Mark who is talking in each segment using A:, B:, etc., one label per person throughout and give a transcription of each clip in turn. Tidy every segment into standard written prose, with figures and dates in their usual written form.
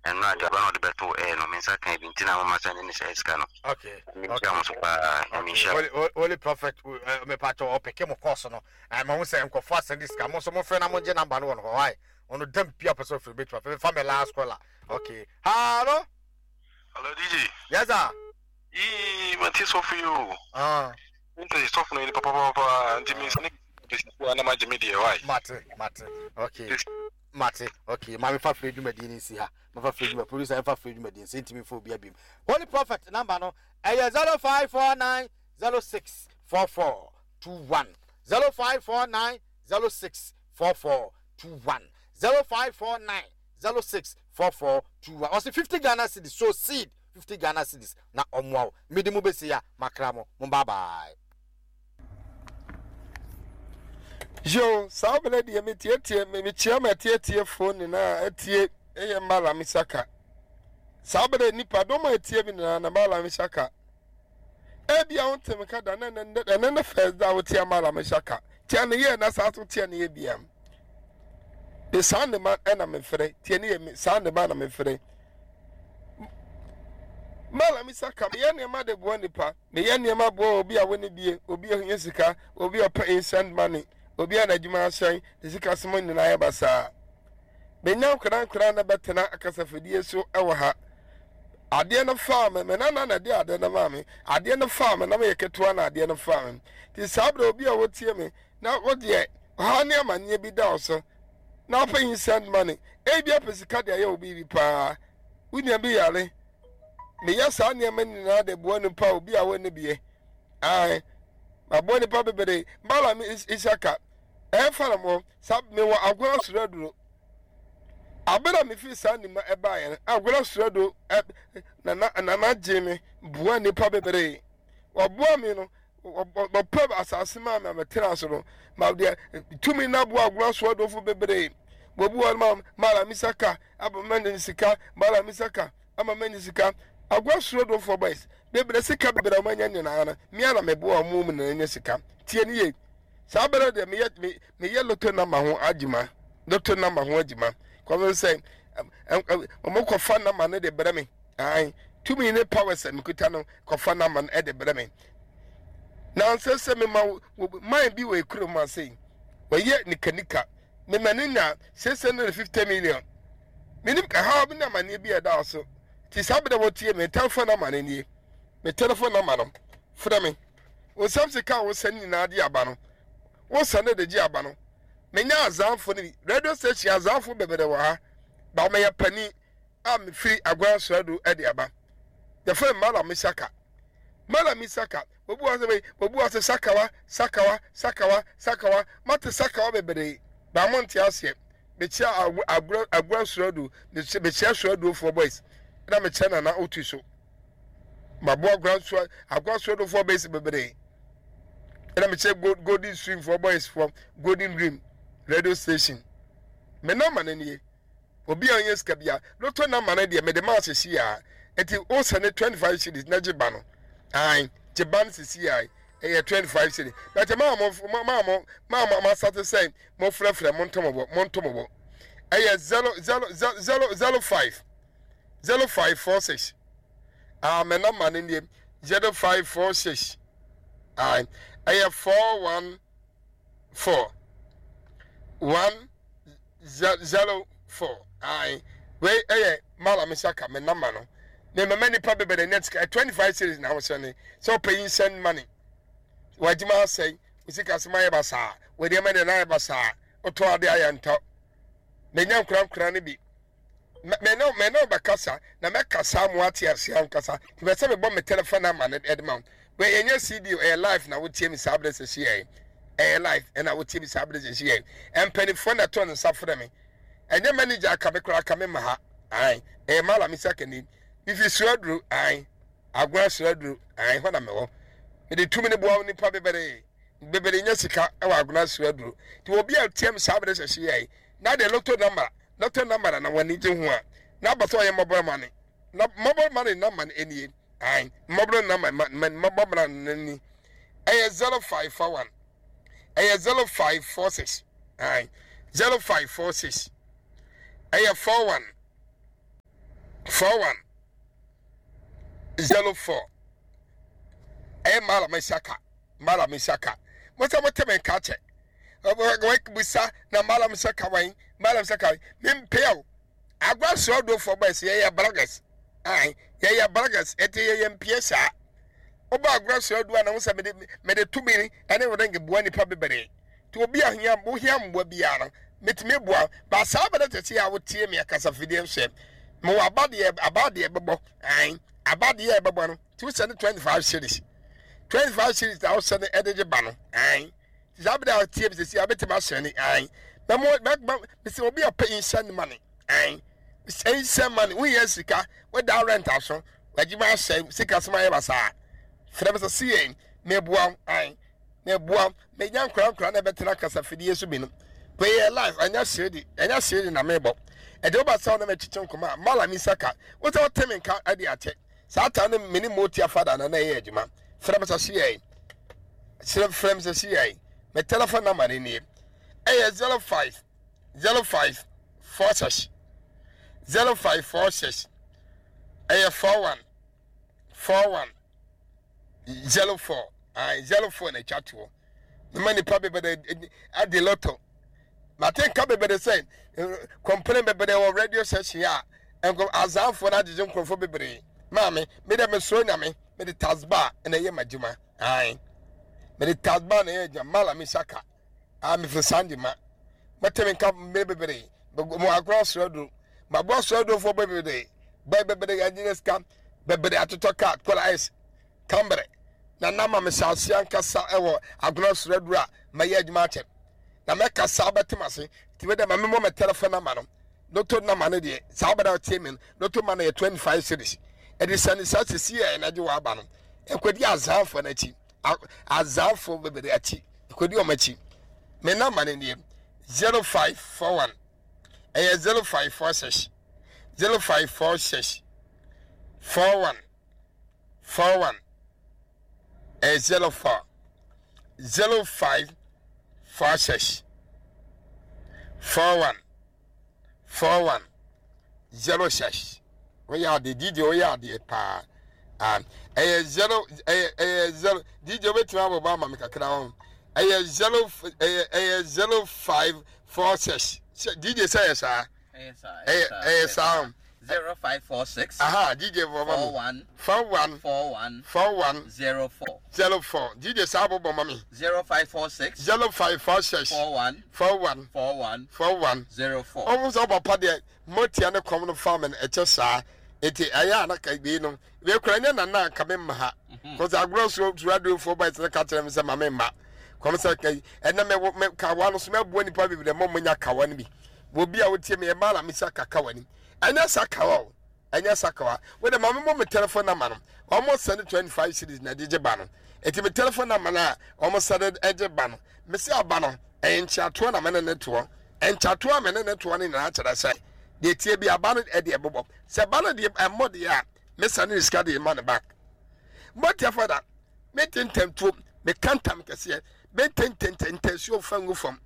A: Ɛno ade aba na ɔde bɛto air no me nsa kan bi nti na mama sɛ ne ne sɛ sika no.
B: Okay.
A: Nyame nhyira mo so paa. Nyame nhyira.
B: Holy, holy, holy prophet, eh, me pato ɔpeke mo course no. Eh, ma ho sɛ nkɔfo asɛnde sika. Mo nso mo frɛ na mo gye number no wɔ no hɔ. Why? Ɔno dam pia pɛ sɛ ɔfiri betuma. Fɛ fa me last caller. Okay. Hello.
C: Hello DJ.
B: Yes sir.
C: Yii mate sɔfo yi o.
B: Ah.
C: Nti sɔfo no yɛ nipa papapapa nti mi nsane besi na ma gye me deɛ why.
B: Mate mate. Okay. Mate. Okay. Maame fa firi dwumadie no nsi ha. Mafa firi dwuma producer ɛfa firi dwumadie nsi ntumi nfa obi abim. Holy Prophet number no ɛyɛ 0549 06 44 21 0549 06 44 21 0549 06 44 21 ɔsi 50 Ghana cedis so seed 50 Ghana cedis na ɔmoa wo mede mo bɛsi ya makra mo mo bye bye.
D: Yo, saa berɛ deɛ metietie mekyia m'atietiefoɔ nyinaa atie ɛyɛ Mallam Saka. Saa berɛ nipa dɔm a atie me nyinaa na Mallam Saka. Ebia wo ntem ka da na ɛnɛ ne first da wotia Mallam Saka. Tia ne yɛ na saa so tia ne yɛ biam. De saa ne ma ɛna mefrɛ tie ne yɛ saa ne ma na mefrɛ. Mallam Saka meyɛ nneɛma de boa nipa. Meyɛ nneɛma boa obi a ɔnni bie, obi a ohia sika, obi a ɔpɛ instant money, obi a n'adwuma asɛe, ne sikasɛm nyinaa ayɛ basaa. Menya nkorankoraa na bɛtena akasafidie so wɔ ha. Adeɛ no faa me, me nana na ɛde adeɛ no maa me. Adeɛ no faa me na meyɛ ketewa na adeɛ no faa me. Nti saa berɛ obi a wɔtie me na wodeɛ ɔhaw ne amanneɛ bi da wo so na wopɛ instant money, ebi apɛ sika de ayɛ wo biribi paa, wo nua bi yare, Meyɛ saa nneɛma nyinaa de boa nipa a obi a wɔnni bie. Ae, maboa nipa bebree. Balaam Isaka, ɛmfa na mo, sa mewɔ agona soro aduro. Abere a mefiri saa nima ɛbaeɛ no, agona soro aduro nana nana gye me boa nipa bebree. Wɔboa me no, wɔpɛ asase maa me a metena so no ma deɛ tumi no aboa agona so adofo bebree. Wɔbu wɔn ma Balaam Isaka ama manya sika, Balaam Isaka ama manya sika. Agua soro dofoɔ boys bebree sika bebree a wɔanya nyinaa no me ara na meboa wɔn mu na anya sika. Tie ne yie. Saa bɛrɛ deɛ meyɛ me meyɛ loto namba ho adwuma loto namba ho adwuma kɔmi sɛ wɔn kɔfa namba no de brɛ me ayi tumi ne powers a mekuta no kɔfa namba no de brɛ me na nsɛ sɛ mema man bi wɔ ekurom ase wɔyɛ nikanika mema no nya 650 million. Menim ɛhaw bi ne amanneɛ bi a ɛda so. Nti saa bere a wɔtie me telephone number no nie. Me telephone number no, frɛ me. Wo nsam sika a wosɛn nyinaa de aba no, wosɛn de gye aba no. Menya azanfo no bi. Radio station azanfo bebree wɔ ha. Ba meyɛ panin a mefiri Agona Suadu de aba. Yɛfrɛ me Malam Isaka. Malam Isaka, obi wɔ sɛ obi wɔ sɛ sakawa, sakawa, sakawa, sakawa. Mate sakawa bebree, ba mo nte aseɛ. Mekyia agorɔ agorɔ suadu, mekyia suaduofoɔ boys, na mekyia nana otu so. Maboa agorɔ sua agorɔ suaduofoɔ boys bebree. Ɛna mekyia golden stream foɔ boys foɔ golden dream radio station. Me namba no nie. Obi a ɔnyɛ sika bia lotto number no deɛ mede maa sisi a nti wo sɛne 25 cedis na gye ba no ae gye ba no sisi a ɛyɛ 25 cedis but maa mo maa mo maa mo masate sɛ mo frɛfrɛ mo ntomobɔ mo ntomobɔ ɛyɛ 0 0 0 0 5 0 5 4 6 ah mɛ number no nie 0 5 4 6 ae ɛyɛ 4 1 4 1 0 4 ae wei ɛyɛ mala me saka me nama no me mama nipa bebree net sika 25 series na wosɛ ne sɛ wopɛ yi send money w'adwuma asɛe wo sika sɛm ayɛ basaa wo nneɛma nyinaa ayɛ basaa wotɔ ade ayɛ ntɔ menya nkorankora no bi me ne me ne bɛkasa na mɛkasa mo ate ase ankasa nti bɛ sɛ mebɔ me telephone number no ɛde ma wo wei ɛnyɛ cd ɛyɛ live na wotie me saa berɛ sɛsi yɛ ɛyɛ live ɛna wotie me saa berɛ sɛsi yɛ mpanimfoɔ na ɛtɔ ne nsa frɛ me ɛnyɛ manager aka me koraa aka me ma ha ae ɛyɛ mala me sakani mifi suaduro ae agona suaduro ae hɔ na mewɔ mede tumi ne boa nipa bebree bebree nya sika ɛwɔ agona suaduro nti obi a tie me saa berɛ sɛsi yɛ na de loto number Lotto number na w'ani gye ho a, na aba sɛ ɔyɛ mobile money. Na mobile money number no nie. Ae, mobile number ma ma mobile money no ni. Ɛyɛ 0541. Ɛyɛ 0546. Ae, 0546. Ɛyɛ 41. 41 04 ɛyɛ Malam Isaka Malam Isaka mo sɛ mote me nka kyɛ busa na Malam Isaka wan Malam Isaka mempɛ o agwa soɔdofoɔ bɔ ɛsɛ yɛyɛ bloggers ae yɛyɛ bloggers ɛte yɛyɛ mpie saa wobɔ agorɔ soɔdoɔ a na wo sɛ mede mede tumi ɛne ring boa nipa bebree nti obi a hia wohia mmoa biara no metumi boa ba saa bɛrɛ te sɛ a wotie me akasafidie nso mewɔ aba deɛ aba deɛ bɛbɔ ae aba deɛ ɛbɛbɔ no nti wosɛ ne 25 series 25 series na wosɛ ne ɛde gye ba no ae saa bere a ɔtie mi sisi a bɛtumi ahyɛn ne ae na mo bɛma sɛ obi a ɔpɛ instant money ae instant money woyɛ sika woda rent aso w'adwuma ahyɛ sika soma ayɛ basaa frɛ me sɛ si yɛn meboa wo ae meboa wo menya nkora nkora na ɛbɛtena kasafidie so bi no wei yɛ life ɛnyɛ seredi ɛnyɛ seredi na mebɔ ɛde woba sɛ wo na mɛkyekye nkɔmɔ a malami saka wo sɛ wote me nka ɛde akyɛ saa ta no me ne motia fada na na ɛyɛ adwuma frɛ me sɛ si yɛn srɛ frɛ me sɛ si yɛn me telephone number no nie ɛyɛ 05 05 46 05 46 ɛyɛ 41 41 04 ayi 04 na atwa toɔ mema nipa bebree adi lotto mate nka bebree sɛ complain bebree wɔ radio station a nko azanfoɔ no agyegye nkurɔfoɔ bebree maame me dɛ mesoro nyame mede tasba na ɛyɛ m'adwuma ae mede tasba na ɛyɛ adwuma mala me saka a mefiri sande ma mɛte me nka mmerɛ bebree mo agorɔ asoro aduro maboa asoro adurofoɔ bebree bɛɛ bebree agyina sika bebree atotɔ kaa kɔla ice Tamberɛ na na ma mehyɛ aseɛ ankasa wɔ agona soro aduru a mɛyɛ adwuma akyɛ na mɛkasa wobɛte m'ase nti me dɛ ma memmɔ me telephone number no loto number no deɛ saa wobɛda wotie me no loto ma no yɛ 25 series ɛde sɛne saa sisi yɛ na gye w'aba no ɛkɔdi azanfoɔ no akyi azanfoɔ bebree akyi ɛkɔdi wɔn akyi me number no deɛ 0541 ɛyɛ 0546 0546 41 41 ɛyɛ 04 05 46 41 41 06 woyɛ adeɛ dj woyɛ adeɛ paa ah, ɛyɛ zero ɛyɛ ɛyɛ zero dj wobɛtumi abɔbɔ ama me kakra ho ɛyɛ zero ɛyɛ ɛyɛ 0546 dj sɛ yɛ saa ɛyɛ ɛyɛ saa o.
E: 0546.
D: Aha, DJ bɔ ma mi.
E: 41.
D: 41.
E: 41.
D: 41.
E: 04.
D: 04. DJ saa bɔ bɔ ma mi.
E: 0546.
D: 0546.
E: 41.
D: 41.
E: 41.
D: 41.
E: 04.
D: Ɔmo sɛ ɔpapa deɛ motia ne kɔm no fa mi no ɛkyɛ saa eti ɛyɛ a na ka wei no wei kura nyɛ nana nka me mma ha kɔsɛ agorɔ so suradofoɔ ba ɛsɛ ka kyerɛ me sɛ ma me mma kɔm sɛ ɛnna mɛ mɛ kawa no so mɛboa nipa bebree mɔ mo nya kawa no bi. Obi a wotie me ɛmaa na mesa kakawa ni. Ɛnyɛ sakawa o. Ɛnyɛ sakawa. Wo de ma me mo me telephone number no. Wɔn send 25 series na ɛde gye ba no. Eti me telephone number no a wɔn send ɛgye ba no. Me se aba no ɛyɛ nkyeatoɔ na me ne ne toɔ. Nkyeatoɔ a me ne ne toɔ no nyinaa kyerɛ sɛ deɛ tie bi aba no ɛde ɛbobɔ. Sɛ ba no deɛ ɛmmɔ deɛ a me send ne sika de ma ne back. Motia fada me te ntɛmtuo me ka ntam kɛseɛ me ntɛntɛntɛ ntɛsuo fa ngu fam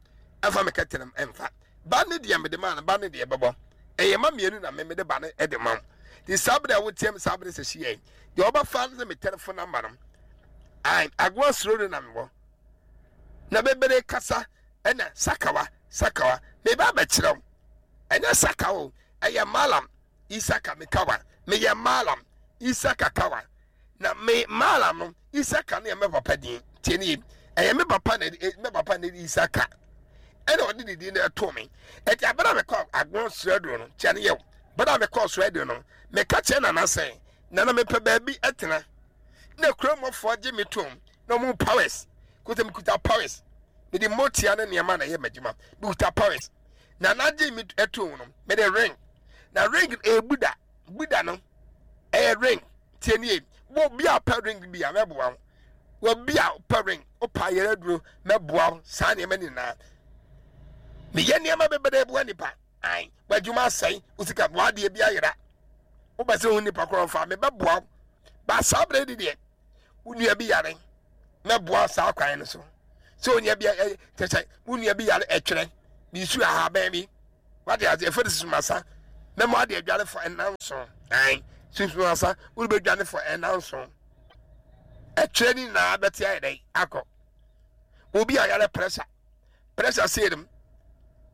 D: ɛfa me kɛtɛnam ɛmfa. Ba ne deɛ mede maa no, ba ne deɛ bɛbɔ. Ɛyɛ ma mmienu na me mede ba no de ma wo. Nti saa bere a woteam saa bere sɛ hyia yi, deɛ ɔbɛfa no sɛ me telephone number no. Ai, agoa suro no na mewɔ. Na bebere kasa ɛna sakawa, sakawa. Meba abɛkyerɛ wo. Ɛnyɛ sakawa o, ɛyɛ malam Isaka mekawa. Meyɛ malam Isaka kawa. Na me malam no Isaka no yɛ me papa din. Tie ne yie. Ɛyɛ me papa na me papa na Isaka. Ɛna ɔde ne din na ɛtoo me. Ɛti abere a mekɔ agorɔ srɛdo no, kyɛ ne yɛ o. Bere a mekɔ srɛdo no, meka kyerɛ nana sɛ, nana mepɛ baabi ɛtena. Na kurom gye me tom na ɔmo powers. Kuta mekuta powers. Mede motia ne nneɛma na ɛyɛ m'adwuma. Mekuta powers. Nana gye me ɛtoo no, mede ring. Na ring ɛyɛ Buddha. Buddha no ɛyɛ ring. Tie nie. Wo bi a pɛ ring bi a mɛboa wo. Wo bi a pɛ ring, wo pa yɛrɛ duro mɛboa wo saa nneɛma nyinaa. Meyɛ nneɛma bebree boa nipa. Ai, w'adwuma asɛe, wo sika, w'adeɛ bi ayera. Wobɛ sɛ wo nipa korɔ mfa, mebɛboa wo. Ba saa berɛ di deɛ, wo nua bi yare, mɛboa saa kwan no so. Sɛ onua bi kyɛ sɛ wo nua bi yare ɛtwerɛ, ne nsu ahaban bi, wate ase, ɛfɛ de susumasa. Mɛma ade adware fɔ ɛnanson. Ɛn sunsun asa wode bɛdwane fɔ ɛnanson. Ɛtwerɛ ne nyinaa bɛte ayɛ dɛn akɔ. Obi a yare pressure pressure sei nom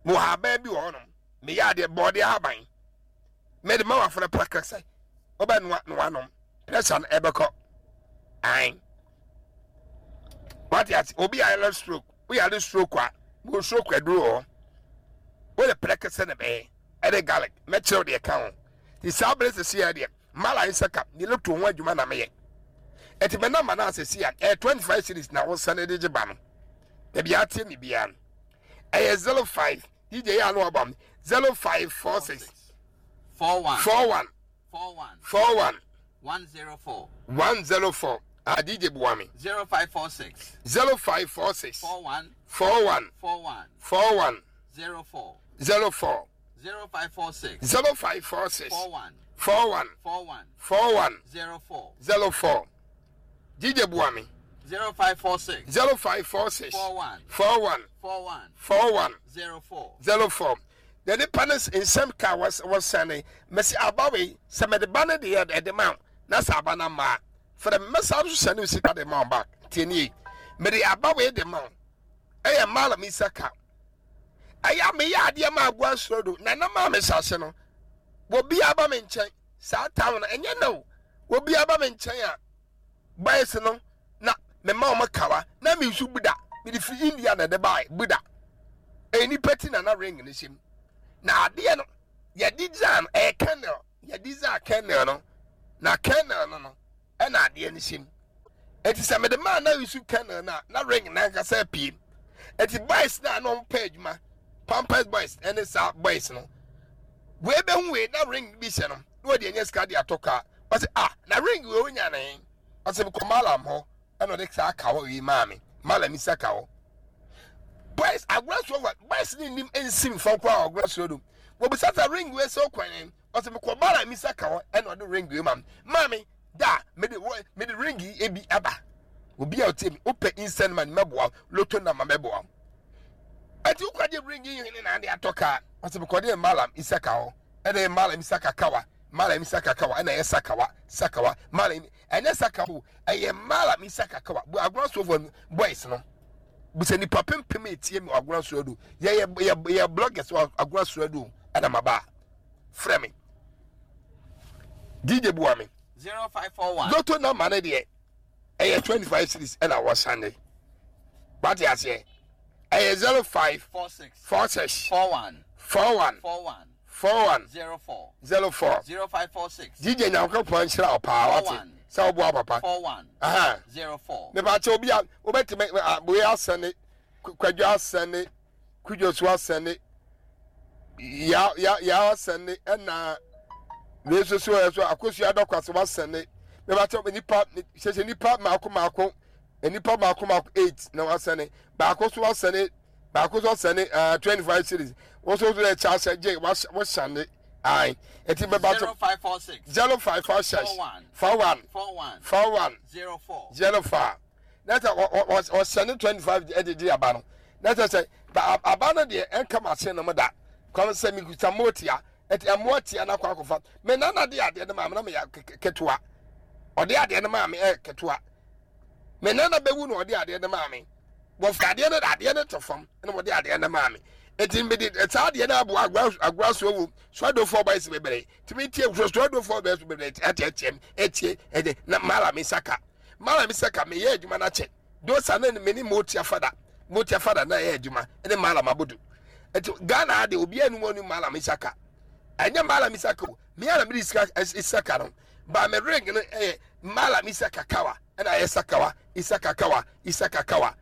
D: mewɔ haban bi wɔ hɔnom meyɛ adeɛ bɔɔde ahaban mede ma wafrɛ prɛkɛ sɛ wobɛnoa na wanom pressure no ɛbɛkɔ an wate ase obi a yɛlɛ stroke woyare stroke a mo stroke aduro wɔ hɔ wode prɛkɛ sɛ na bɛyɛ ɛne garlic mɛkyerɛw deɛ ka ho nti saa bere sisi yɛ deɛ mala nsɛ ka ne loto ho adwuma na meyɛ ɛti mɛ namba no asɛsi a ɛyɛ 25 series na wosɛne de gye ba no baabi ateɛ me biara no ɛyɛ 05 dj yɛ ano aba 0546
E: 41
D: 41
E: 41
D: 41
E: 104
D: 104 ah dj boa me
E: 0546
D: 0546
E: 41
D: 41
E: 41
D: 41
E: 04
D: 04
E: 0546
D: 0546
E: 41
D: 41
E: 41
D: 41
E: 04
D: 04 dj boa me
E: 0546
D: 0546
E: 41
D: 41
E: 41
D: 41
E: 04
D: 04 na nipa no nsɛm ka wɔsɛne mɛsi aba wei sɛ mɛde ba no deɛ ɛde ma wo na sɛ aba no mmaa fɛrɛ mɛsa nso sɛne wo sika de ma wo back tie nie mede aba wei de ma wo ɛyɛ malam isa ka ɛyɛ a meyɛ adeɛ ma agoa soro do na na maa me hyɛ no wɔbi aba me nkyɛn saa town no ɛnyɛ na o wɔbi aba me nkyɛn a boys no na mema wɔn kawa na me nso buda mede firi India na ɛde bae buda ɛyɛ nipa ti na na ring no hyɛ mu na adeɛ no yɛde gyaa no ɛyɛ kernel yɛde gyaa kernel no na kernel no no ɛna adeɛ no hyɛ mu eti sɛ mede maa na nsu kernel no a na ring nankasa apue eti boys na na wɔn pɛ adwuma pampers boys ɛne saa boys no wei bɛhu wei na ring bi hyɛ no na wɔde anya sika de atɔ kaa ɔsɛ ah na ring wei onya ne ɔsɛ mekɔ malam hɔ ɛna ɔde saa kawa wei maa me malam isa kawa boys agorɔ so wa boys ne nim nsim fam koraa agorɔ so do wɔbisa sɛ ring wei sɛ ɔkwan ne ɔsɛ mekɔ malam isa kawa ɛna ɔde ring wei maa me maa me da mede mede ring yi ebi aba obi a ɔtie mi wopɛ instant money mɛboa loto nama mɛboa ɛti wokɔgye ring yi hene na ade atɔ kaa ɔsɛ mekɔde malam isa kawa ɛna malam isa kakawa malam sakawa ɛna ɛyɛ sakawa sakawa malam ɛnyɛ sakawa ɛyɛ malam sakawa bu agorɔ sofo boys no bisa nipa pempem etie mi agorɔ so do yɛ yɛ yɛ yɛ bloggers wɔ agorɔ so do ɛna ma ba frɛ me dj bua me
E: 0541
D: lotto number ne deɛ ɛyɛ 25 series ɛna wɔsane wate aseɛ ɛyɛ 05
E: 46
D: 46
E: 41
D: 41
E: 41
D: 41
E: 04
D: 04
E: 0546
D: dj nyankopɔn nhyira wo paa wate
E: 41
D: sɛ woboa papa
E: 41
D: aha
E: 04
D: mepakyɛ obi a wobɛtumi wei asɛne kwadwo asɛne kudwo so asɛne ya ya ya asɛne ɛna wei nso so ɛso akosua dɔkwa so wasɛne mepakyɛ nipa hyehyɛ nipa maako maako nipa maako maako eight na wasɛne baako so wasɛne baako so asɛne 25 series wɔn nso so yɛ kyɛ asɛ gye wɔhyɛne ayi eti bɛba so
E: 0546
D: 0546
E: 41
D: 41
E: 41
D: 41
E: 04
D: 04 na sɛ ɔsɛne 25 ɛde di aba no na sɛ sɛ aba no deɛ ɛnka machine no mu da kɔm sɛ mekuta mmoa ɛti ɛmmoa tia no akɔ akɔfa me nana de adeɛ no maa me na meyɛ ketewa ɔde adeɛ no maa me ɛyɛ ketewa me nana bɛwu na ɔde adeɛ no maa me wɔfa adeɛ no adeɛ no to fam na wɔde adeɛ no maa me eti mede saa adeɛ no aboa agora agora so wɔ suadofoɔ bɔyɛ si bebree tumi tie suadofoɔ bɔyɛ si bebree ɛteɛteɛm etie ɛde na mala mi saka mala mi saka meyɛ adwuma no akyɛ dosa ne me ne motia fada motia fada na ɛyɛ adwuma ɛne mala mabodo eti ghana ade obi anum ɔne mala mi saka ɛnyɛ mala mi saka o mi ara mi de sika saka no ba me ring no ɛyɛ mala mi saka kawa ɛna ayɛ sakawa isaka kawa isaka kawa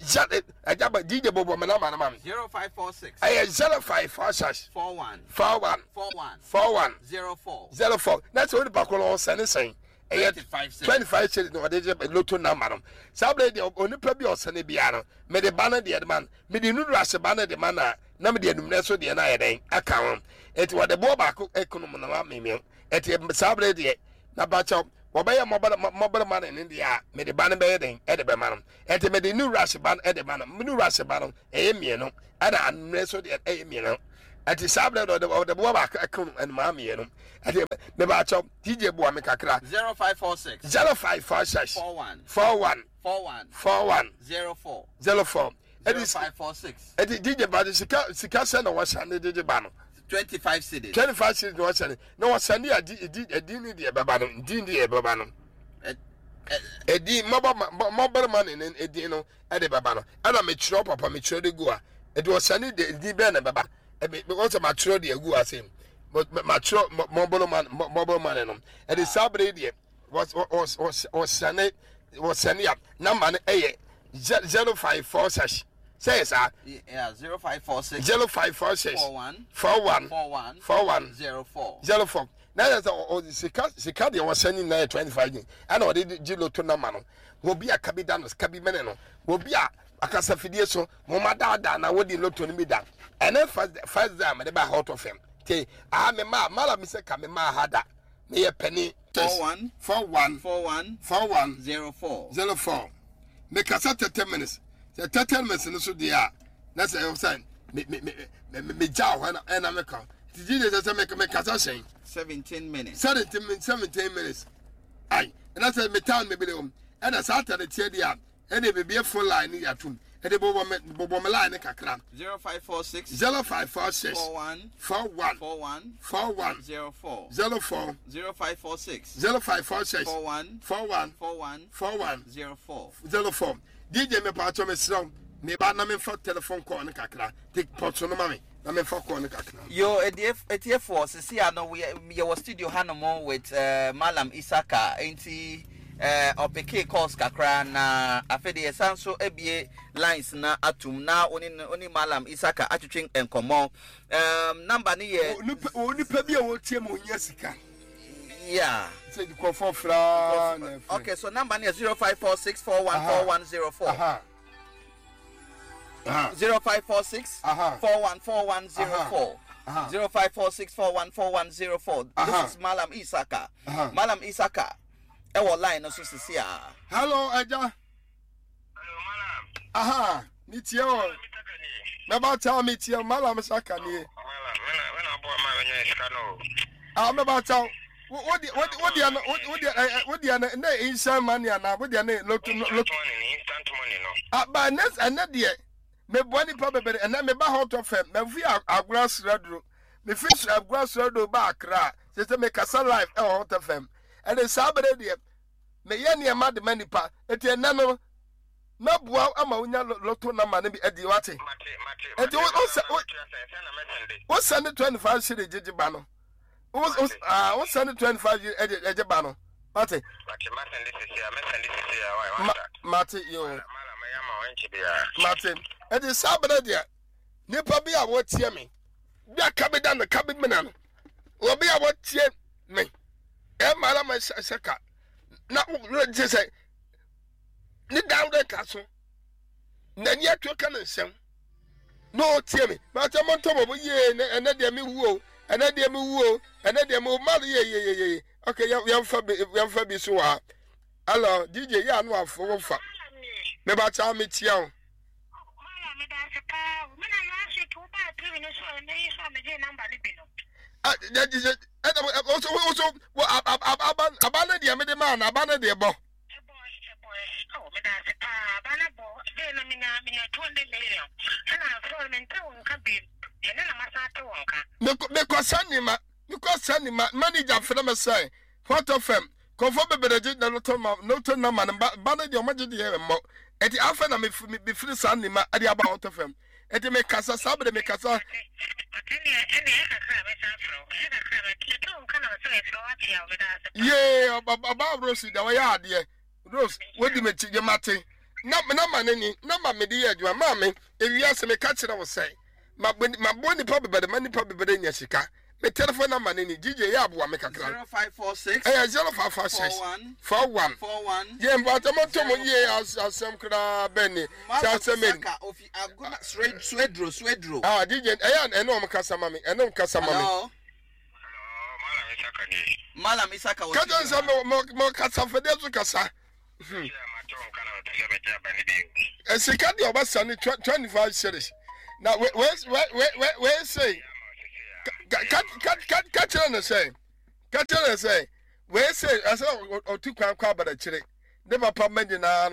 D: ɛgya ba dj bɔbɔ mɛ nama nama mi
E: 0546
D: ɛyɛ 0546
E: 41
D: 41
E: 41
D: 41
E: 04
D: 04 na sɛ onipa koro no ɔsɛne sɛn ɛyɛ
E: 25 cedis.
D: 25 cedis na ɔde gye loto number no saa bere deɛ onipa bi a ɔsɛne biara no mede ba no deɛ de ma no mede nuduru ase ba no de ma no a na mede anummerɛ so deɛ no ayɛ dɛn aka ho eti wɔde boɔ baako ekonom na ma memiɛ eti saa bere deɛ na bakyɛw wɔbɛyɛ mɔbɛrɛ ma no ne deɛ a mede ba no bɛyɛ dɛn ɛde bɛma no eti mede nuduru ase ba no ɛde ma no nuduru ase ba no ɛyɛ mmienu ɛna anummerɛ so deɛ ɛyɛ mmienu. Ɛti saa berɛ no ɔde ɔde boa baako ɛka nnomaa mmienu. Ɛti mebaakyɛw DJ boa me kakra.
E: 0546.
D: 0546.
E: 41.
D: 41.
E: 41.
D: 41.
E: 04.
D: 04. Ɛti
E: 0546.
D: ɛti DJ baagye sika sika sɛ na wɔsan de gyegye ba no.
E: 25 cedis.
D: 25 cedis na wɔsan na wɔsan de adi edi edi ne deɛ ɛbɛba no di ne deɛ ɛbɛba no. Edi mɔbɔ mɔbɛrima money ne edi no ɛde bɛba no ɛna mekyerɛw papa mekyerɛw de gu a ɛde wɔsan de edi bɛn na ɛbɛba ɛbi because makyerɛw de agu ase makyerɛw mɔbɛrima money mɔbɛrima money no ɛde saa bere deɛ wɔsane wɔsane a namba no ɛyɛ 0546 sɛ yɛ saa.
E: Yeah, 0546.
D: 0546.
E: 41.
D: 41.
E: 41.
D: 41.
E: 04.
D: 04. Na yɛ sɛ ɔ sika sika deɛ wɔsɛn nyinaa yɛ 25 ni ɛna ɔde gye loto namba no wɔbi a kabi da no kabi mene no wɔbi a akasafidie so mo ma daadaa na wɔdi loto no bi da ɛne first first day a mede ba hot fm te aha me ma mala mi sɛ ka me ma ha da meyɛ panin.
E: 41.
D: 41.
E: 41.
D: 41.
E: 04.
D: 04. Mekasa 30 minutes. Sɛ 30 minutes no so deɛ a, na sɛ ɛwɔ sɛ me me me me me gya hɔ ɛna ɛna meka. Ti gyi de sɛ sɛ meka mekasa hyɛn.
E: 17 minutes.
D: 17 17 minutes. Ai, ɛna sɛ me town me bele wɔm. Ɛna saa atade teɛ deɛ a, ɛna ebibie phone line no yɛ atum. Ɛde bobɔ me bobɔ me line no kakra.
E: 0546.
D: 0546.
E: 41.
D: 41.
E: 41.
D: 41.
E: 04.
D: 04.
E: 0546.
D: 0546.
E: 41.
D: 41.
E: 41.
D: 41.
E: 04.
D: 04. DJ me pa me srɛ me ba na memfa telephone call no kakra. Take pɔtso no ma me na memfa call no kakra.
E: Yo, etiefoɔ sisi ano yɛwɔ studio hanom with Malam Isaka nti ɔpeke calls kakra na afei de yɛsan so abie lines na atum na one one Malam Isaka atwetwe nkɔmmɔ. Number ne yɛ
D: Onipa bi a wɔtie mu ohia sika.
E: Yeah.
D: Sɛ nkurɔfoɔ fra na ɛfrɛ.
E: Okay, so number ne yɛ 0546414104.
D: Aha. Aha.
E: 0546
D: Aha.
E: 414104.
D: Aha.
E: 0546 414104. This
D: Aha.
E: is Malam Isaka.
D: Aha.
E: Malam Isaka. Ɛwɔ line no so sisi a.
D: Hello, Ẹja.
A: Hello, Malam.
D: Aha. Mi tie o. Mɛba kyɛw mi tie o. Malam Saka nie.
A: Malam, mena aboa ma menya sika no.
D: Ah, mɛba kyɛw. Wo wo deɛ wo deɛ no wo deɛ ɛ wo deɛ no ne instant money ana wo deɛ ne loto
A: Instant
D: loto.
A: money, instant money no.
D: Ah, ba ɛnɛ ɛnɛ deɛ meboa nipa bebree ɛnɛ meba hɔ tɔ fam mafi agorɔ asraduro mefi agorɔ asraduro ba akra sɛ sɛ mekasa live ɛwɔ hɔ tɔ fam ɛde saa bere deɛ meyɛ nneɛma de ma nipa eti ɛnɛ no mɛboa ama wonya loto namba no bi adi wate eti wo wo wo send 25 cedi gyegye ba no wo wo ah wo send 25 ɛgye ɛgye ba no wate ma mate yo mate ɛdi saa bere deɛ nipa bi a wɔtie me bi a kabi da no kabi mina no obi a wɔtie me ɛma la ma hyɛ ka na wɔgye sɛ ne dan de ka so n'ani ato ka ne nsɛm na ɔtie me mate mo ntɔ bɔbɔ yie ɛnɛ deɛ me wu o ɛnɛ deɛ me wu o ɛnɛ deɛ me wu ma no yie yie yie yie ok yɛmfa bi yɛmfa bi so wɔ ha hello dj yɛ ano afo wo fa meba kyɛw me tia o. Aba no deɛ mede maa no aba no deɛ bɔ. Mekɔ sɛ nima mekɔ sɛ nima manager frɛ me sɛ Hot FM nkurɔfoɔ bebree gye na lotto ma lotto nama no ba ba no deɛ wɔn gye deɛ mmɔ eti afɛ na mefiri saa nima ɛde aba Hot FM eti mekasa saa bere mekasa. Yee ɔba Rose deɛ ɔyɛ adeɛ Rose wodi m'akyi yɛ mate na na ma ne ni na ma mede yɛ adwuma maame ewiase meka kyerɛ wo sɛ ma mabɔ nipa bebree ma nipa bebree nya sika. Me telephone number ne ni DJ yɛ aboa me kakra.
E: 0546.
D: Ɛyɛ 0546 41
E: 41.
D: Yɛ mpatsɔ mo to mo yie asɛm koraa bɛn ni sɛ asɛm ni.
E: Saka ofi agona suedro suedro.
D: Ah DJ ɛyɛ ɛne wɔn kasa ma me ɛne wɔn kasa ma me.
E: Hello.
A: Malam Isaka ni.
E: Malam Isaka wɔ
D: Kasa nsɛ mo mo mo kasa fɛdeɛ so kasa. Sika deɛ ɔbɛsa ne 25 series na wei wei wei wei sei. Ka ka ka ka ka kyerɛ no sɛ ka kyerɛ no sɛ wei sɛ ɛsɛ ɔtu kwan kɔ abadakyire ne papa mma nyinaa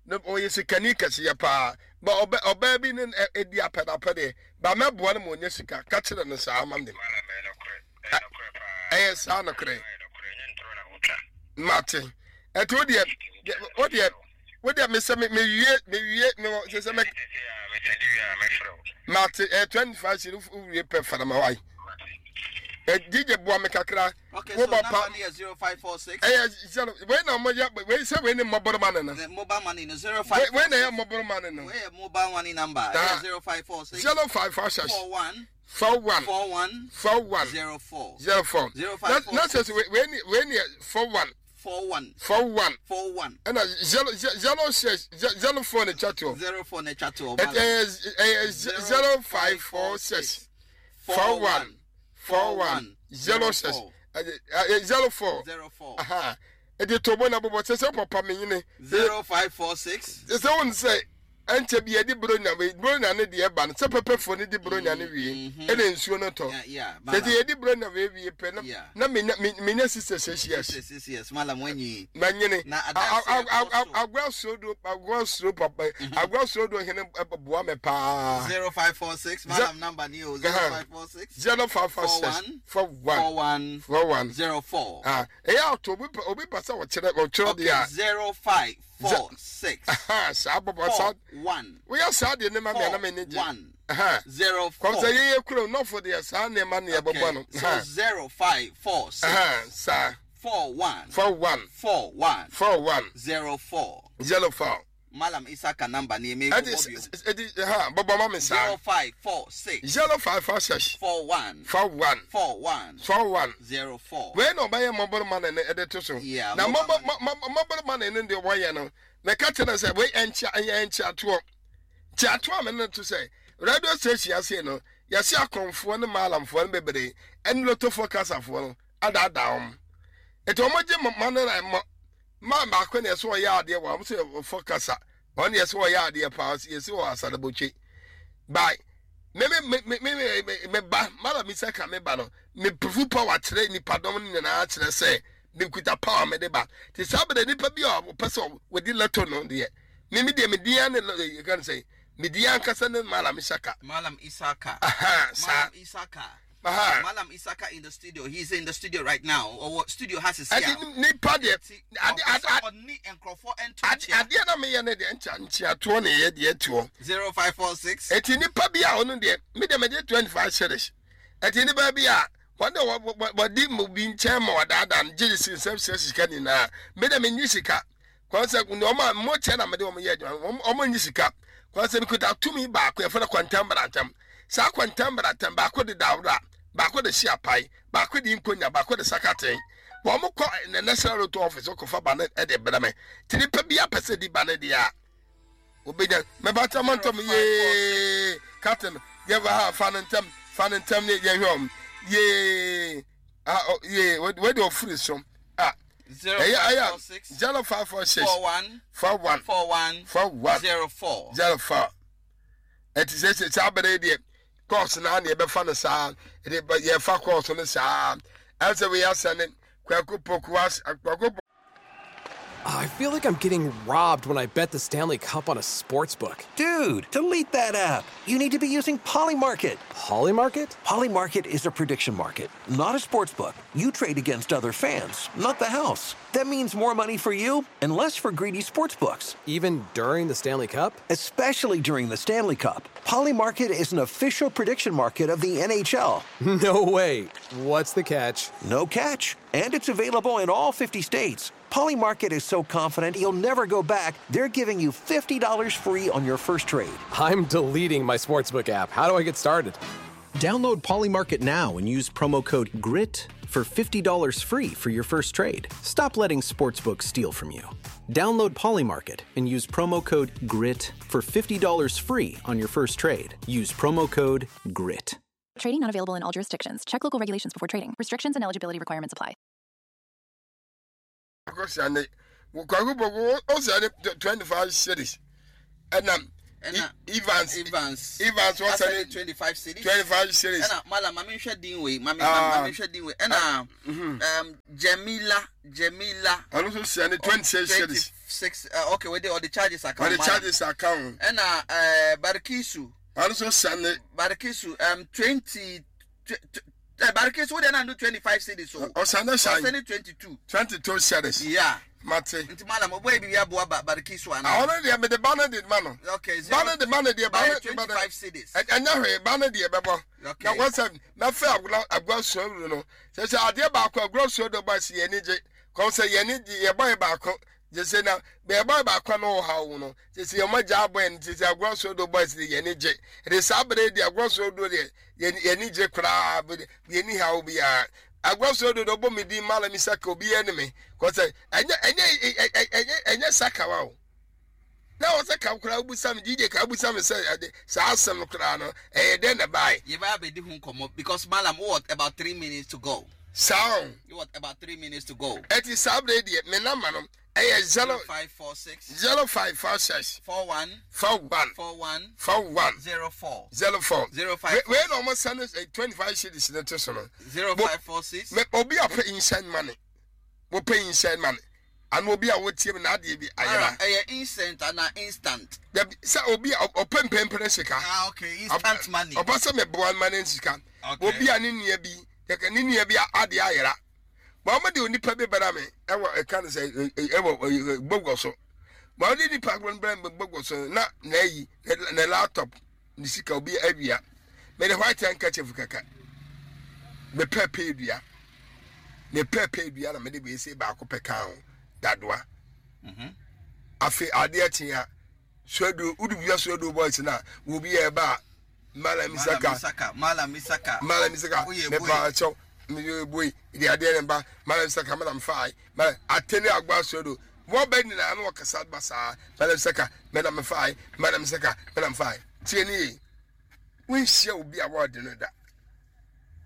D: no ɔyɛ sikani kɛseɛ paa ba ɔbɛ ɔbaa bi ne ɛdi apɛdapɛdeɛ ba mɛboa no ma ɔnya sika ka kyerɛ no saa ma me ɛyɛ saa nokorɛ mate ɛti wo deɛ wo deɛ wo deɛ mesɛ mewie mewie mewɔ sɛ sɛ mɛ mate ɛyɛ 25 sɛ wowie pɛ farama wae DJ boa me kakra
E: Okay,
D: wo
E: so
D: papa
E: number no yɛ 0546.
D: Ɛyɛ zero wei na ɔmo yɛ wei sɛ wei ne mɔbɔrɔ money no.
E: The mobile money no 05.
D: Wei na ɛyɛ mɔbɔrɔ money no.
E: Wei yɛ mobile money number. Ɛyɛ 0546.
D: 0546.
E: 41.
D: 41.
E: 41.
D: 41.
E: 04.
D: 04.
E: 0546.
D: Na sɛ wei ne wei ne 41.
E: 41.
D: 41.
E: 41.
D: Ɛna 0 0 6 04 ne twa toɔ.
E: 04 ne twa toɔ.
D: Ɛyɛ ɛyɛ 0546. 41. 41 06 04
E: 04
D: ɛde tobo na bobɔ sɛ sɛ papa menyene
E: 0546
D: sɛ wo sɛ ɛnkyɛ bi yɛde bronya wei bronya ne deɛ ɛba no sɛ pɛpɛfoɔ no di bronya no wie ɛna nsuo no tɔ sɛ sɛ yɛde bronya wei wie pɛ na na menya menya 66 years
E: 66 years malam wanyi
D: manyene agorɔ soro agorɔ soro papa agorɔ soro do hene boa me paa
E: 0546 malam number ni o 0546
D: 0546 41
E: 41
D: 41
E: 04
D: ah ɛyɛ ato obi pɛ obi pɛ sɛ ɔkyerɛ ɔkyerɛ deɛ a
E: 0546
D: saa bɔbɔ saa
E: 1
D: woyɛ saa deɛ ne ma mi anam ani gye
E: 1 04
D: kɔm sɛ yɛyɛ kuro nɔfo deɛ saa nneɛma ne yɛbɛbɔ no
E: so 0546
D: saa
E: 41
D: 41
E: 41
D: 41
E: 04
D: 04
E: Malam Isaka number ni eme
D: ɛdi
E: bɔbɔ bio.
D: ɛdi ha bɔbɔ ma mi saa
E: 0546
D: 0546
E: 41
D: 41
E: 41
D: 41
E: 04
D: wei na ɔbɛyɛ mɔbɔrɔ ma ne ɛde to so
E: Yeah,
D: na
E: mobile
D: mɔbɔrɔ ma ne ne deɛ wɔyɛ no mɛka kyerɛ sɛ wei ɛnkyia ɛyɛ nkyia toɔ nkyia toɔ a mɛ ne to sɛ radio station ase no yɛsi akɔnfoɔ ne maalamfoɔ no bebree ɛne lotofoɔ kasafoɔ no adaadaa wɔn ètò wɔn gye ma ne na mɔ maa baako na ɛsɛ ɔyɛ adeɛ wɔ wɔn sɛ ɔfɔ kasa wɔn deɛ ɛsɛ ɔyɛ adeɛ paa yɛsi wɔ asadabotwe bye me me me me me me me ba mara mi sɛ ka me ba no me pufu power kyerɛ nipadɔm no nyinaa kyerɛ sɛ me kuta power me de ba te saa bɛrɛ nipa bi a ɔpɛ sɛ wɔdi lɛto no deɛ me me deɛ me di ya ne yɛ kan sɛ me di ya ankasa ne mara mi saka.
E: Malam Isaka.
D: Aha, saa.
E: Malam Isaka.
D: Aha.
E: Malam Isaka in the studio. He's in the studio right now. Or studio has his
D: Ɛdi nipa deɛ ade ade
E: ɔne nkurɔfoɔ nto
D: ade
E: nkyea.
D: adeɛ na meyɛ ne deɛ nkyia nkyiatoɔ na ɛyɛ deɛ toɔ.
E: 0546
D: Eti nipa bi a ɔno deɛ me deɛ mede 25 cedis. Eti nipa bi a wɔn de wɔdi mu bi nkyɛn ma wɔdaadaa no gye si nsɛm sɛ sika nyinaa me deɛ menyi sika kwan sɛ wɔn a mo kyɛ na mede wɔn yɛ adwuma wɔn wɔn nyi sika kwan sɛ mekuta tumi baako yɛfrɛ no kwantam bratam saa kwantam bratam baako de dawura baako de si apae baako de nkonya baako de sakaten wɔn kɔ the national road office kɔfa ba no de brɛ me ti nipa bi apɛ sɛ di ba no deɛ a obenya mɛba kyɛ mo ntɔm yee captain yɛba ha fa no ntɛm fa no ntɛm ne yɛhwɛ ɔm yee ah ɔ yee wei de ɔfiri so ah ɛyɛ ɛyɛ
E: 0546
D: 0546
E: 41
D: 41
E: 41
D: 41
E: 04
D: 04 ɛti sɛ sɛ saa bɛrɛ deɛ kɔɔso naa ne yɛbɛfa no saa ɛde yɛfa kɔɔso no saa ɛsɛ wei asɛ ne kwaku poku as kwaku
F: I feel like I'm getting robbed when I bet the Stanley Cup on a sports book.
G: Dude, delete that app. You need to be using Polymarket.
F: Polymarket?
G: Polymarket is a prediction market, not a sports book. You trade against other fans, not the house. That means more money for you and less for greedy sports books.
F: Even during the Stanley Cup?
G: Especially during the Stanley Cup. Polymarket is an official prediction market of the NHL.
F: No way. What's the catch?
G: No catch. And it's available in all 50 states. Polymarket is so confident you'll never go back, they're giving you $50 free on your first trade.
F: I'm deleting my sportsbook app. How do I get started?
H: Download Polymarket now and use promo code GRIT for $50 free for your first trade. Stop letting sportsbooks steal from you. Download Polymarket and use promo code GRIT for $50 free on your first trade. Use promo code GRIT.
I: Trading not available in all jurisdictions. Check local regulations before trading. Restrictions and eligibility requirements apply.
D: Akɔsia ne kwaku poku ɔsia ne 25 cedis ɛna
E: Ɛna
D: Evans
E: Evans
D: Evans wɔsɛne
E: 25 cedis.
D: 25 cedis.
E: Ɛna Malam ma menhwɛ din wei ma
D: Ah.
E: menhwɛ din wei ɛna Jamila Jamila.
D: Ɔno nso sɛne 26 cedis.
E: 26 okay wei de ɔde charges account.
D: Ɔde
E: Malam.
D: charges account.
E: Ɛna Barikisu.
D: Ɔno nso sɛne.
E: Barikisu 20 Barikisu wo de na do 25 cedis o.
D: Ɔsɛne sɛn.
E: Ɔsɛne 22.
D: 22 cedis.
E: Yeah.
D: Mate.
E: Nti Malam ɔbɔ ebi aboa Barikisu ana.
D: Ɔno deɛ mede ba no de ma no.
E: Okay.
D: Ba no de ma no deɛ ba no
E: 25 cedis.
D: Ɛnyɛ hwee ba no deɛ bɛbɔ.
E: Okay.
D: Na wɔsɛ mɛfɛ agorɔ agorɔ suo no. Sɛ sɛ adeɛ baako agorɔ suo do ba si yɛn ani gye. Kɔn sɛ yɛn ani gye yɛbɔ yɛ baako. Gye sɛ na yɛbɔ yɛ baako na ɔha wo no. Gye sɛ yɛn mo gya abɔ yɛn gye sɛ agorɔ suo do ba si yɛn ani gye. Ɛde saa abere deɛ agorɔ suo do deɛ yɛn ani gye koraa yɛn ni ha obiara. Agorɔ suo do ɔbɔ mi din Malam Isaka obiara ni mi. Kɔn sɛ ɛnyɛ ɛnyɛ ɛnyɛ ɛnyɛ sakawa o. Na wɔsɛ ka koraa wobusa me DJ ka wobusa me sɛ ɛde saa asɛm no koraa no ɛyɛ dɛn na ɛbae.
E: Yɛbɛyɛ abɛdi ho nkɔmmɔ because Malam wowɔ about 3 minutes to go.
D: Saa o.
E: You want about 3 minutes to go.
D: Ɛti saa bere deɛ me namba no ɛyɛ 0
E: 0546
D: 0546
E: 41
D: 41
E: 41
D: 41
E: 04
D: 04
E: 05
D: Wei na ɔmo send 25 cedis ne to so no.
E: 0546
D: Me obi a ɔpɛ inside money. Wɔpɛ inside money. Ano obi a wotie me na adeɛ bi ayera.
E: Ɛyɛ instant ana instant.
D: Dabi sɛ obi a ɔpɛ mpɛmpɛrɛ sika.
E: Ah okay, instant money.
D: Ɔpɛ sɛ meboa ma ne sika.
E: Okay.
D: Obi a ne nua bi yɛka ne nua bi adeɛ ayera. Wɔn mo de onipa bi bɛra me ɛwɔ ɛka no sɛ ɛwɔ gbogbo so. Wɔn de nipa no bɛra me gbogbo so na na ayi ne laptop ne sika obi awia. Mede white handkerchief kɛkɛ. Mepɛ pɛ dua. Mepɛ pɛ dua na mede wei se baako pɛ ka ho dadoa. Afei adeɛ kye a suadu wode wia suadu boys na obi yɛ ba a Malam Isaka
E: Malam Isaka
D: Malam Isaka mepa kyɛw meyɛ boi de adeɛ ne ba Malam Isaka menam fae Malam atene agba suadu wɔbɛ nyinaa na wɔkasa ba saa Malam Isaka menam fae Malam Isaka menam fae tie ne yie wonhyia obi a wɔde no da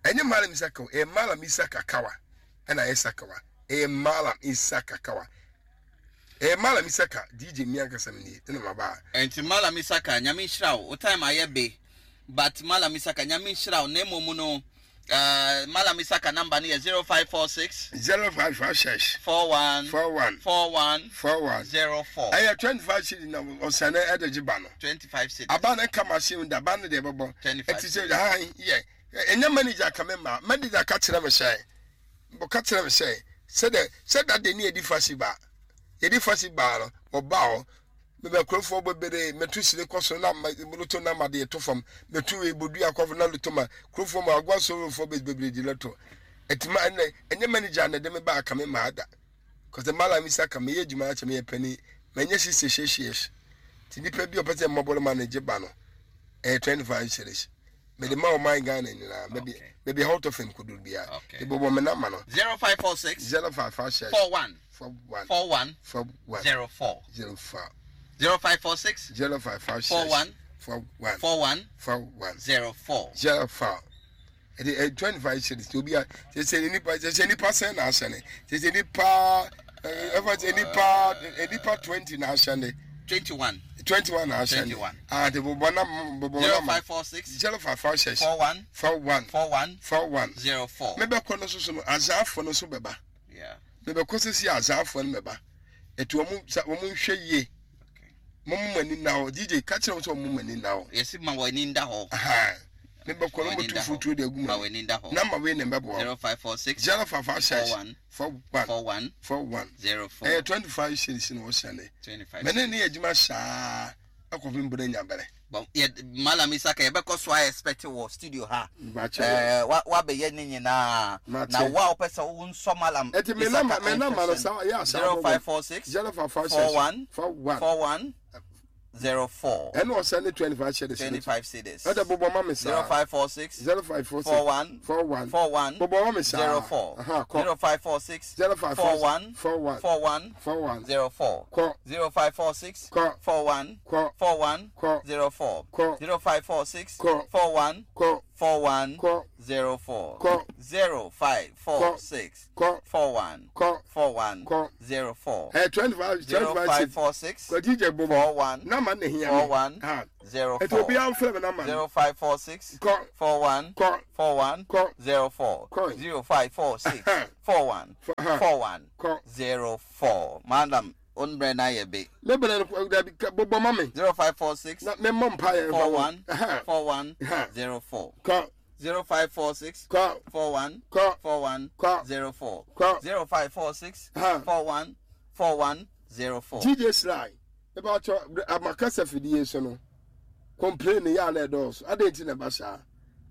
D: ɛnyɛ Malam Isaka ɛyɛ Malam Isaka kawa ɛna ɛyɛ sakawa ɛyɛ Malam Isaka kawa ɛyɛ Malam Isaka DJ mi ankasa mi nie ɛna ma ba.
E: Nti Malam Isaka nyame nhyira wo time ayɛ be but Malam Isaka nyame nhyira wo na mmom no Malam Isaka number no yɛ 0546
D: 0556
E: 41
D: 41
E: 41
D: 41
E: 04
D: ɛyɛ 25 cedi na ɔsɛne ɛde gye ba no
E: 25 cedi
D: aba no ka machine da ba no deɛ ɛbɛbɔ
E: 25
D: ɛti sɛ han yɛ ɛnyɛ manager ka me ma manager ka kyerɛ me sɛ ɔka kyerɛ me sɛ sɛdɛ sɛ dade ne yɛdi fasi ba yɛdi fasi baa no ɔba hɔ mebɛ kurofoɔ bebree mɛtu sire kɔ so na loto na ma de to fam mɛtu wei bodua kɔ na loto ma kurofoɔ ma agoa sorofoɔ bebree di loto ɛti ma ɛnɛ ɛnyɛ manager na ɛde me ba aka me ma ada kɔsɛ Malam Isaka meyɛ adwuma akyɛ meyɛ panin manyɛ sisi hyehyees ti nipa bi a ɔpɛ sɛ mmɔbɔ no ma ne gye ba no ɛyɛ 25 cedis mede ma ɔman Ghana nyinaa baabi baabi a hɔtɔ fam koduru biara de bɔbɔ me namba no
E: 0546
D: 0556
E: 41
D: 41
E: 41
D: 41
E: 04
D: 04
E: 0546
D: 0556
E: 41
D: 41
E: 41
D: 41
E: 04
D: 04 ɛde ɛ 25 cedis obi a sɛ sɛ nipa sɛ sɛ nipa sɛn na ahyɛ ne sɛ sɛ nipa ɛfa sɛ nipa nipa 20 na ahyɛ ne
E: 21
D: 21 na ahyɛ ne
E: 21.
D: ah de bɔbɔ na bɔbɔ na ma
E: 0546
D: 0556
E: 41
D: 41
E: 41
D: 41
E: 04
D: mebɛkɔ no so so no azaafoɔ no so bɛba
E: Yeah.
D: mebɛkɔ sɛ si azaafoɔ no bɛba ɛti wɔn sa wɔn nhwɛ yie mo mo ani na hɔ DJ ka kyerɛ wɔn sɛ wɔn mo ani na hɔ
E: Yɛsi ma wɔ ani nda hɔ.
D: aha mebɛkɔ no
E: Ma w'ani
D: mo tu
E: nda hɔ.
D: futuo de agu
E: Ma
D: mu
E: w'ani nda hɔ.
D: namba wei na mbɛboa
E: 0546
D: 0556
E: 41
D: 41
E: 41
D: 41
E: 04
D: ɛyɛ 25 cedis na wɔhyɛ ne
E: 25
D: mene ne yɛ adwuma saa akɔpem bere nya bere
E: Bon, yɛ Malam Isaka yɛbɛkɔ so a expect wɔ studio ha.
D: Mbakyɛ.
E: Wabɛyɛ ne nyinaa.
D: Mate.
E: Na wo a wopɛ sɛ wo nsɔ Malam
D: Ɛti me namba me namba no saa yɛ asa
E: 0546
D: 0556
E: 41
D: 41
E: 41 04
D: ɛna ɔsɛ ne 25 cedis
E: 25 cedis.
D: ɛdɛ bobɔ ma me saa
E: 0546
D: 0546
E: 41
D: 41
E: 41
D: bobɔ ma me saa
E: 04
D: Aha, kɔ
E: 0546
D: 0546
E: 41
D: 41
E: 41
D: 41
E: 04
D: kɔ
E: 0546
D: Kɔ.
E: 41
D: Kɔ.
E: 41
D: Kɔ.
E: 04
D: Kɔ.
E: 0546
D: Kɔ.
E: 41
D: kɔ.
E: 41
D: Kɔ.
E: 04.
D: Kɔ.
E: 0546
D: Kɔ.
E: 41
D: Kɔ.
E: 41
D: Kɔ.
E: 04.
D: Ɛ 25 25 cedis.
E: 0546
D: Kwati gye bobɔ.
E: 41
D: Nama na ehia me.
E: 41
D: Ha.
E: 04.
D: Ɛti obiara mfrɛ me nama no.
E: 0546
D: Kɔ.
E: 41
D: Kɔ.
E: 41
D: Kɔ.
E: 04.
D: Kɔ.
E: 0546 41
D: Aha.
E: 41
D: Kɔ.
E: 04. Madam, onbrɛ na yɛ be.
D: Me brɛ no kɔ- dabi ka- bobɔ ma me.
E: 0546
D: Na me mmɔ mpaeɛ mfa wo.
E: 41
D: Aha.
E: 41
D: Aha.
E: 04.
D: Kɔ.
E: 0546
D: Kɔ.
E: 41
D: Kɔ.
E: 41
D: Kɔ.
E: 04.
D: Kɔ.
E: 0546
D: Aha.
E: 41 41 04.
D: GJ Sly, ebe atɔ amakasa fidie so no. Complain yɛ a na ɛdɔɔso. Adɛn nti na ɛba saa?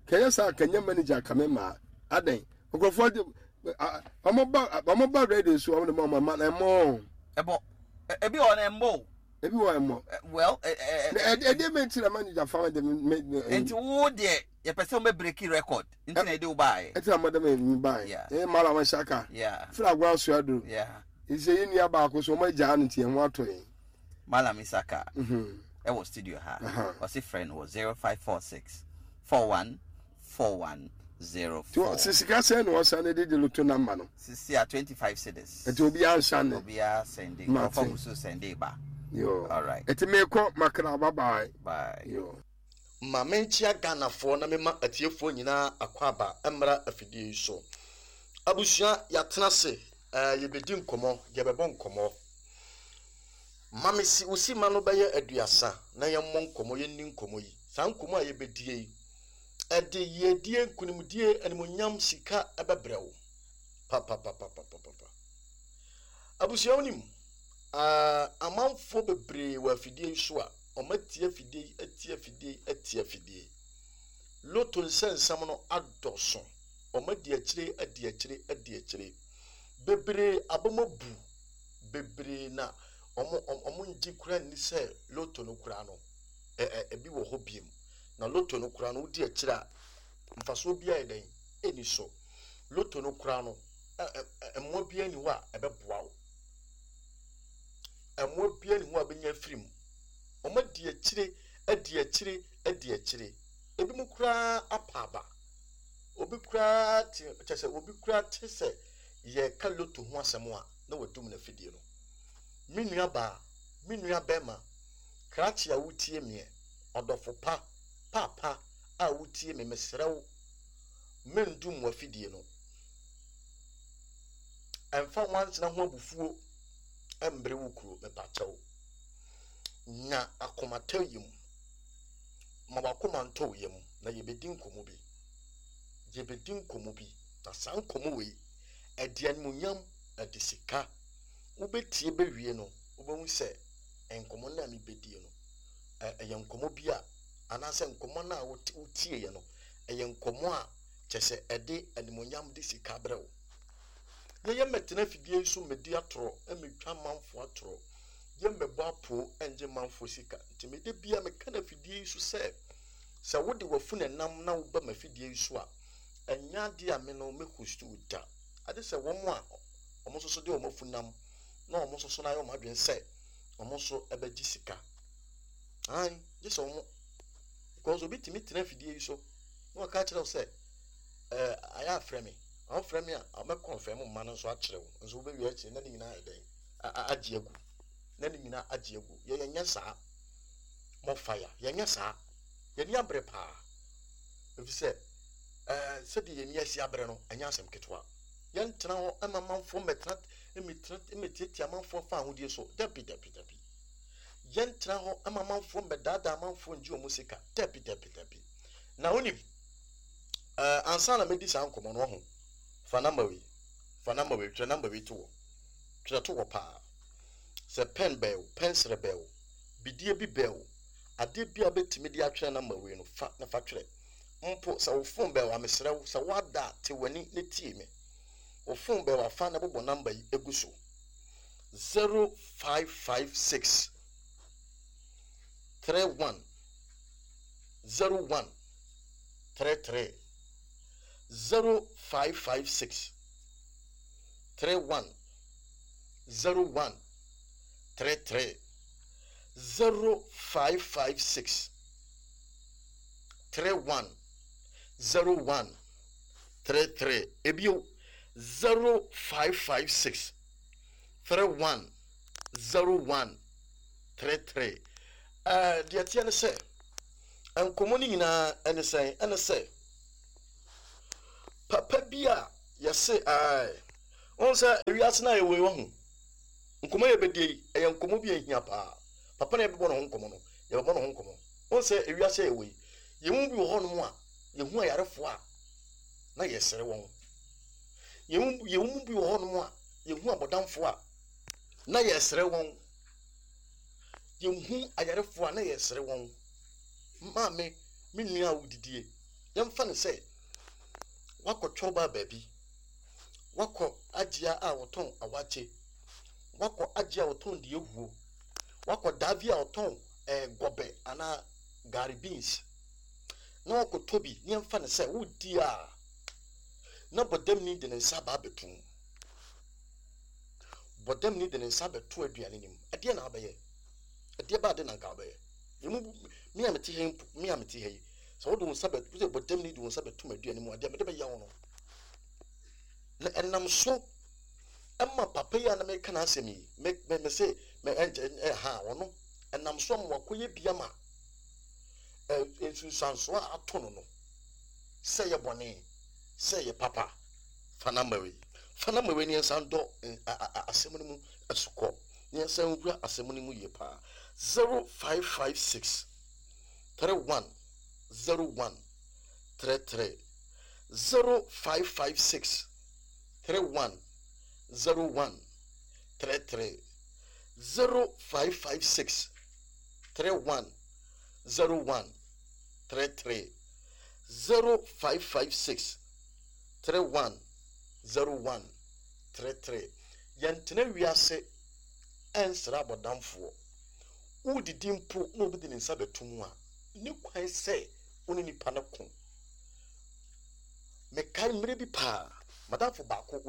D: Kɛyɛ saa kɛnyɛ manager kame maa. Adɛn? Nkurɔfoɔ de ɔmo ba ɔmo ba radio so ɔmo de ma ɔmo ma na ɛmɔ.
E: Ɛbɔ. Ebi wɔ na ɛmbɔ o.
D: Ebi wɔ ɛmɔ.
E: Well, ɛ ɛ
D: Na ɛde ɛde mi nti na manager fa de me me.
E: Nti wo deɛ yɛpɛ sɛ wobɛ break record nti na ɛde wo baeɛ.
D: Ɛti na mo de me me baeɛ.
E: Yeah.
D: Ɛyɛ mala wɔn hyaka.
E: Yeah.
D: Fira agorɔ aso aduro.
E: Yeah.
D: Nse yi nua baako so ɔmo agyaa no nti ɛho atɔ yɛn.
E: Malam Isaka
D: Mhm.
E: ɛwɔ studio ha.
D: Aha.
E: Ɔse frɛ no wɔ 0546 41 41
D: Ti
E: 04.
D: wɔ sika sɛn na wɔsan de de loto namba no.
E: Sisi a 25 cedis.
D: Ɛti obiara nsa ne.
E: Obiara sɛnde.
D: Mate.
E: Ɔfa gu so sɛnde ba.
D: Yo.
E: All right.
D: Ɛti mekɔ makra bye bye.
E: Bye.
D: Yo.
J: Ma menkyea Ghanafoɔ na mema atiefoɔ nyinaa akwaaba mmra afidie yi so. Abusua, yɛatena ase, eh, yɛbɛdi nkɔmmɔ, yɛbɛbɔ nkɔmmɔ. Ma me si, wo sima no bɛyɛ aduasa na yɛmmɔ nkɔmmɔ, yɛnni nkɔmmɔ yi. Saa nkɔmmɔ a yɛbɛdie yi, ɛde yiedie, nkonimdie, animuonyam, sika ɛbɛbrɛ wo. Papapapapapapa. Abusua, wonim, ah, amanfoɔ bebree wɔ afidie yi so a, wɔatie afidie yi, atie afidie yi, atie afidie yi. Loto nsɛnsɛm no adɔso. Wɔadi akyire, adi akyire, adi akyire. Bebree abam abu. Bebree na wɔn, wɔn, wɔn ngye koraa nni sɛ loto no koraa no, ɛ, ɛ, ebi wɔ hɔ biem. Na loto no koraa no, wodi akyire a, mfasoɔ biara yɛ dɛn? Ɛnni so. Loto no koraa no, ɛ, ɛ, ɛ, mmoa biara nni hɔ a ɛbɛboa wo. Mmoa biara nni hɔ a bɛnya afiri mu. Wɔn adi akyire, adi akyire, adi akyire. Ebinom koraa apa aba. Obi koraa te, kyerɛ sɛ obi koraa te sɛ yɛreka loto ho asɛm a, na wadum n'afidie no. Me nua baa, me nua bɛrima, krakye a wotie meɛ, ɔdɔfo pa, paapa a wotie me, mesrɛ wo, mendum w'afidie no. Ɛmfa nwansena ho abufuo mmere wo kuro, mepakyɛw. Nya akomatɔyam. Ma w'akoma ntɔ wo yam na yɛbɛdi nkɔmmɔ bi. Yɛbɛdi nkɔmmɔ bi. Na saa nkɔmmɔ wei, ɛde animuonyam, ɛde sika. Wobɛtie bɛwie no, wobɛhu sɛ nkɔmmɔ no a mebɛdie no, ɛyɛ nkɔmmɔ bi a, anaasɛ nkɔmmɔ no a wotieeɛ no, ɛyɛ nkɔmmɔ a kyerɛ sɛ ɛde animuonyam de sika brɛ wo. Yɛyɛ mmɛtena afidie yi so mmɛdi atorɔ, mmɛtwa amanfoɔ atorɔ, yɛmmɛbɔ apoo ngye manfoɔ sika. Nti mede bia meka no afidie yi so sɛ, sɛ wode w'afunu nam na woba m'afidie yi so a, ɛnyɛ adeɛ a me no mɛhost wo da. Ade sɛ wɔn a wɔn nso so de wɔn afunu nam na wɔn nso so no ayɛ wɔn adwene sɛ wɔn nso bɛgye sika. Ae, gye sɛ wɔn, because obi tumi tena afidie yi so na waka akyerɛ wo sɛ, ayɛ afrɛ me. Ɔmfrɛ me a, ɔmɛkɔnfɛm mma no nso akyerɛ wo. Nso wobɛwie akyire na ne nyinaa ayɛ dɛn? Agye agu. Na ne nyinaa agye agu. Yɛnyɛ saa. More fire. Yɛnyɛ saa. Yɛni abere paa. Ɛfiri sɛ, sɛdeɛ yɛni asi abere no, ɛnyɛ asɛm ketewa. Yɛntena hɔ ma amanfoɔ mmɛtena, mmɛtiatia amanfoɔ fa ahodie so. Dabi, dabi, dabi. Yɛntena hɔ ma amanfoɔ mmɛdaadaa amanfoɔ ngye wɔn sika. Dabi, dabi, dabi. Na wonim, ansa na mɛdi saa nkɔmmɔ no, ɔho, fa namba wei, fa namba wei, twerɛ namba wei to hɔ. Twerɛ to hɔ paa. Sɛ pɛn bɛɛ wo, pɛnsere bɛɛ wo, bidie bi bɛɛ wo, adeɛ bi a wobɛtumi de atwerɛ namba wei no, fa na fa twerɛ. Mpo sɛ wo phone bɛɛ wo a, mesrɛ wo, sɛ woada a, te w'ani na tie me. Wo phone bɛɛ wo a, fa na bobɔ namba yi gu so. 0556 31 01 33 0556 31 01 33 0556 31 01 33. Ebio, 0556 31 01 33. Ɛɛ, deɛ ɛteɛ ne sɛ, nkɔmmɔ no nyinaa ɛne sɛn? Ɛne sɛ, papa bi a yɛse ae, wohu sɛ ewiase no a yɛwɔ yi wahu, nkɔmmɔ yɛ bɛdie yi, ɛyɛ nkɔmmɔ bi a ɛhia paa. Papa na yɛbɛbɔ ne ho nkɔmmɔ no, yɛbɛbɔ ne ho nkɔmmɔ. Wohu sɛ ewiase a yɛwɔ yi, yɛn mu bi wɔ hɔnom a, yɛhu ayarefoɔ a, na yɛsere wɔn. Yɛn mu bi wɔ hɔnom a, yɛhu abɔdamfoɔ a, na yɛsere wɔn. Yɛhu ayarefoɔ a, na yɛsere wɔn. Maame, me nua a wodidie, yɛmfa no sɛ wakɔ twɔba baabi, wakɔ agyea a wɔtɔn awakye, wakɔ agyea a wɔtɔn deɛ huo, wakɔ daavi a wɔtɔn gɔbɛ anaa gari beans, na wakɔtɔ bi, ne yɛmfa no sɛ wodi a, na bɔdamni de ne nsa aba abɛto mu. Bɔdamni de ne nsa abɛto aduane no mu. Ɛdeɛ na wabɛyɛ? Ɛdeɛ ba ade na nka wabɛyɛ? Emu me a mete ha yi mpo, me a mete ha yi, sɛ wode wo nsa bɛ, wode bɔdamni de wo nsa bɛto m'aduane mu a, deɛ mede bɛyɛ wo no. Na ɛnam so ɛma papa yi a na meka n'asɛm yi, me me me se me ɛnkyɛ ɛha ɔno, ɛnam so ama wakɔyɛ bi ama ɛ nsunsuansoɔ a ato no no, sɛ yɛ bɔne, sɛ yɛ papa, fa namba wei, fa namba wei ne yɛnsan dɔ asɛm no mu asukɔ, ne yɛnsan wura asɛm no mu yie paa. 0556 31 01 33, 0556 31 01 33, 0556 31 01 33, 0556 31 01 33. Yɛntena wiase ɛnsrɛ abɔdamfoɔ. Wodidi mpo na obi de ne nsa bɛto mu a, ne kwan sɛ wo ne nipa no ko. Mekae mmerɛ bi paa, madamfo baako.